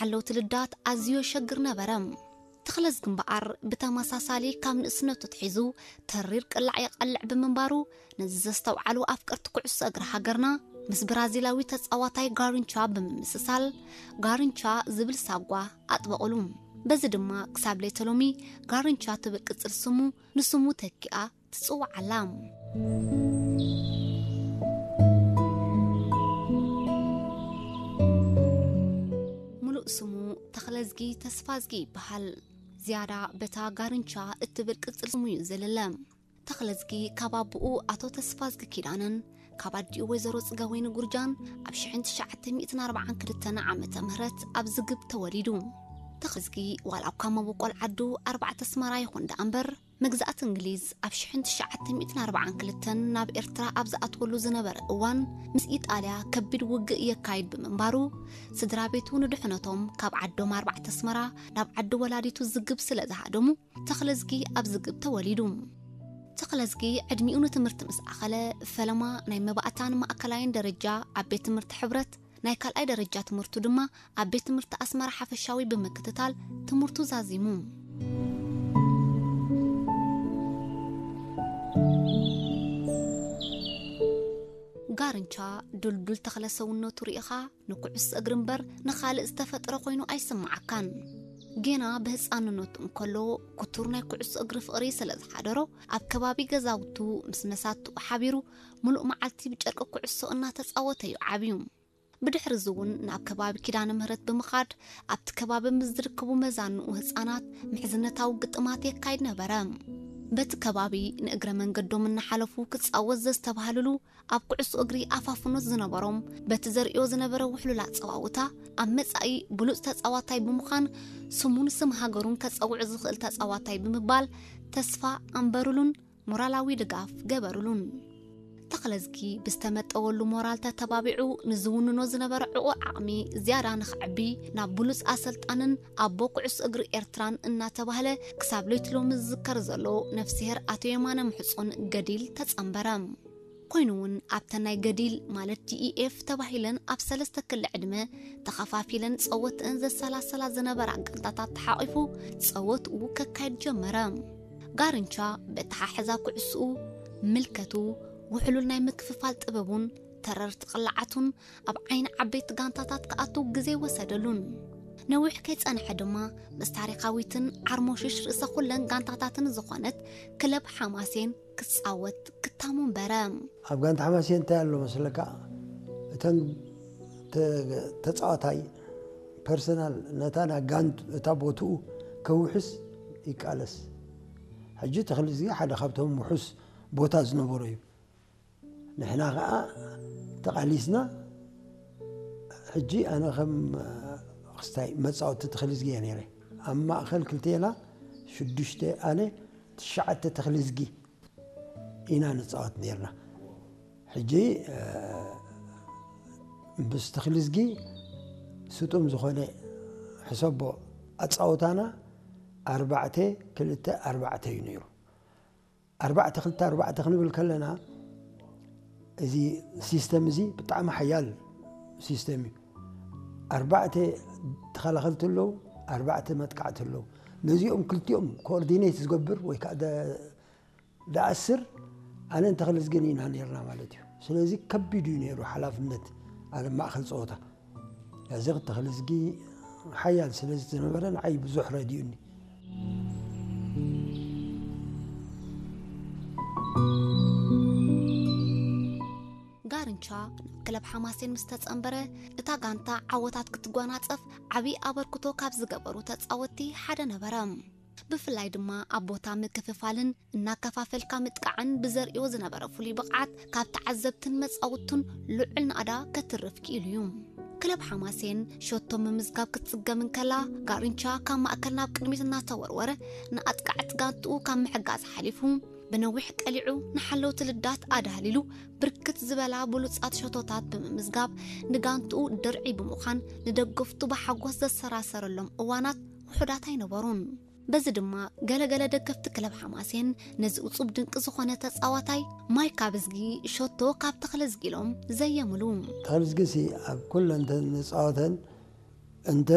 ንሓለውቲ ልዳት ኣዝዩ የሸግር ነበረ። ተኽለዝጊ እምበኣር ብተመሳሳሊ ካብ ንእስነቱ ኣትሒዙ ተሪር ቅላዕ የቐልዕ ብምንባሩ፣ ነዚ ዘስተውዓሉ ኣፍቀርቲ ኩዕሶ እግሪ ሃገርና፣ ምስ ብራዚላዊ ተጻዋታይ ጋሪንቻ ብምምስሳል፣ ጋሪንቻ ዝብል ሳጓ ኣጥበቑሉ። በዚ ድማ ክሳብ ለይተ ሎሚ ጋሪንቻ ትብል ቅጽል ስሙ ንስሙ ተኪኣ ትጽዋዕ ኣላ። ሙሉእ ስሙ ተኽለዝጊ ተስፋዝጊ ይበሃል። ዝያዳ በታ ጋርንቻ እትብል ቅጽል ስሙ እዩ ዝልለ። ተኽለዝጊ ካብ ኣቦኡ ኣቶ ተስፋዝጊ ኪዳነን ካብ ኣዲኡ ወይዘሮ ጽገወይኒ ጉርጃን ኣብ ሽሕን ትሽዓተ ሚእትን ኣርባዓን ክልተን ዓመተ ምህረት ኣብ ዝግብ ተወሊዱ። ተኽለዝጊ ዋላ እኳ መበቆል ዓዱ ኣርባዕተ ኣስመራ ይኹን ደኣ እምበር፣ መግዛእቲ እንግሊዝ ኣብ ሽሕን ትሽዓተ ሚእትን ኣርባዓን ክልተን ናብ ኤርትራ ኣብ ዝኣትወሉ ዝነበረ እዋን፣ ምስ ኢጣልያ ከቢድ ውግእ የካይድ ብምንባሩ፣ ስድራ ቤቱ ንድሕነቶም ካብ ዓዶም ኣርባዕተ ኣስመራ ናብ ዓዲ ወላዲቱ ዝግብ ስለ ዝሃደሙ፣ ተኽለዝጊ ኣብ ዝግብ ተወሊዱ። ተኽለዝጊ ዕድሚኡ ንትምህርቲ ምስ ኣኸለ፣ ፈለማ ናይ መባእታን ማእከላይን ደረጃ ኣብ ቤት ትምህርቲ ሕብረት፣ ናይ ካልኣይ ደረጃ ትምህርቱ ድማ ኣብ ቤት ትምህርቲ ኣስመራ ሓፈሻዊ ብምክትታል ትምህርቱ ዛዚሙ። ጋርንቻ ዱልዱል ተኽለ ሰውነቱ ርኢኻ ንኩዕሶ እግሪ እምበር ንኻልእ ዝተፈጥረ ኮይኑ ኣይስምዓካን። ጌና ብህፃንነቱ እንከሎ ክቱር ናይ ኩዕሶ እግሪ ፍቕሪ ስለ ዝሓደሮ፣ ኣብ ከባቢ ገዛውቱ ምስ መሳትኡ ሓቢሩ ምሉእ መዓልቲ ብጨርቂ ኩዕሶ እናተፃወተ እዩ ዓብዩ። ብድሕሪ እዚ እውን ናብ ከባቢ ኪዳነ ምህረት ብምኻድ ኣብቲ ከባቢ ምስ ዝርከቡ መዛንኡ ህፃናት ምሕዝነታዊ ግጥማት የካይድ ነበረ። በቲ ከባቢ ንእግረ መንገዶም እናሓለፉ ክፃወት ዘስተባህልሉ ኣብ ኩዕሶ እግሪ ኣፋፍኖት ዝነበሮም በቲ ዘርእዮ ዝነበረ ውሕሉል ኣፀዋውታ ኣብ መፃኢ ብሉፅ ተፃዋታይ ብምዃን ስሙን ስም ሃገሩን ከፀውዕ ዝኽእል ተፃዋታይ ብምባል ተስፋ ኣንበሩሉን ሞራላዊ ድጋፍ ገበሩሉን። ተኽለዝጊ ብዝተመጠወሉ ሞራል ተተባቢዑ ንዝውንኖ ዝነበረ ዕቑር ዓቕሚ ዝያዳ ንኽዕቢ ናብ ብሉፅ ኣሰልጣንን ኣቦ ኩዕሶ እግሪ ኤርትራን እናተባህለ ክሳብ ለይቲ ሎሚ ዝዝከር ዘሎ ነፍስሄር ኣቶ የማነ ምሕጹን ገዲል ተጸንበረ። ኮይኑ እውን ኣብተን ናይ ገዲል ማለት ዲኢኤፍ ተባሂለን ኣብ ሰለስተ ክሊ ዕድመ ተኸፋፊለን ጸወትአን ዘሰላሰላ ዝነበራ ጋንታታት ተሓቒፉ ጸወትኡ ከካይድ ጀመረ። ጋርንቻ በተሓሕዛ ኩዕስኡ፣ ምልከቱ፣ ውሕሉል ናይ ምክፍፋል ጥበቡን ተረርቲ ቅላዓቱን ኣብ ዓይኒ ዓበይቲ ጋንታታት ክኣቱ ግዜ ወሰደሉን። ነዊሕ ከይጸንሐ ድማ ምስ ታሪኻዊትን ዓርሞሽሽ ርእሰ ኩለን ጋንታታትን ዝኾነት ክለብ ሓማሴን ክጻወት ክታሙ እምበረ። ኣብ ጋንታ ሓማሴን እንታይ ኣሎ መስለካ? እተን ተ-፣ ተጻዋታይ ፐርሰናል ነታ ናይ ጋንት እታ ቦትኡ ከውሕስ ይቃለስ። ሕጂ ተኽሊ እዚ ሓደ ካብቶም ውሑስ ቦታ ዝነበሮ እዩ። ንሕና ኸኣ ተቓሊስና። ሕጂ ኣነ ከም ክስታይ መጻወቲ ተኽሊ ዝጊ እየ ነይረ። ኣብ ማእከል ክልቴና ሽዱሽተ ኣነ ትሽዓተ ተኽሊ ዝጊ ኢና ንጻወት ነይርና። ሕጂ፣ እ፣ ምስ ተኽሊ ዝጊ ስጡም ዝኾነ ሕሰቦ ኣጻወታና ኣርባዕተ ክልተ ኣርባዕተ እዩ ነይሩ። ኣርባዕተ ክልተ ኣርባዕተ ክንብል ከለና፣ እዚ ሲስተም እዚ ብጣዕሚ ሓያል ሲስተም እዩ። ኣርባዕተ ተኸላኸልቲ ኣለዉ፣ ኣርባዕተ መጥቃዕቲ ኣለዉ። ነዚኦም ክልቲኦም ኮኦርዲኔት ዝገብር ወይ ከዓ ደ-፣ ደኣስር ኣነን ተኽልዝግን ኢና ነይርና ማለት እዩ። ስለዚ ከቢድ እዩ ነይሩ ሓላፍነት ኣብ ማእከል ፀወታ። እዚ ተኽልዝጊ ሓያል ስለ ዝነበረ ንዓይ ብዙሕ ረዲኡኒ። ጋርንቻ ናብ ክለብ ሓማሴን ምስ ተጸንበረ፣ እታ ጋንታ ዓወታት ክትጓናጸፍ ዓቢ ኣበርክቶ ካብ ዝገበሩ ተጻወትቲ ሓደ ነበረ። ብፍላይ ድማ ኣብ ቦታ ምክፍፋልን እናከፋፈልካ ምጥቃዕን ብዘርእዮ ዝነበረ ፍሉይ ብቕዓት ካብ ተዓዘብትን መጻውቱን ልዑል ናእዳ ከትርፍ ክኢሉ እዩ። ክለብ ሓማሴን ሸቶ ምምዝጋብ ክትጽገም እንከላ፣ ጋርንቻ ካብ ማእከል ናብ ቅድሚት እናተወርወረ ንኣጥቃዕቲ ጋንትኡ ካብ ምሕጋዝ ሓሊፉ፣ ብነዊሕ ቀሊዑ ንሓለውቲ ልዳት ኣዳህሊሉ፣ ብርክት ዝበላ ብሉጻት ሸቶታት ብምምዝጋብ ንጋንትኡ ድርዒ ብምዃን ንደገፍቱ ብሓጎስ ዘሰራሰረሎም እዋናት ውሑዳት ኣይነበሩን። በዚ ድማ ገለገለ ደገፍቲ ክለብ ሓማሴን ነዚ እጹብ ድንቂ ዝኾነ ተጻዋታይ ማይ ካብ እዝጊ ሸቶ ካብ ተኽለ እዝጊ ኢሎም ዘየምሉ። ተኽለ እዝጊ ሲ ኣብ ኩለን እተን ንጻወተን እንተ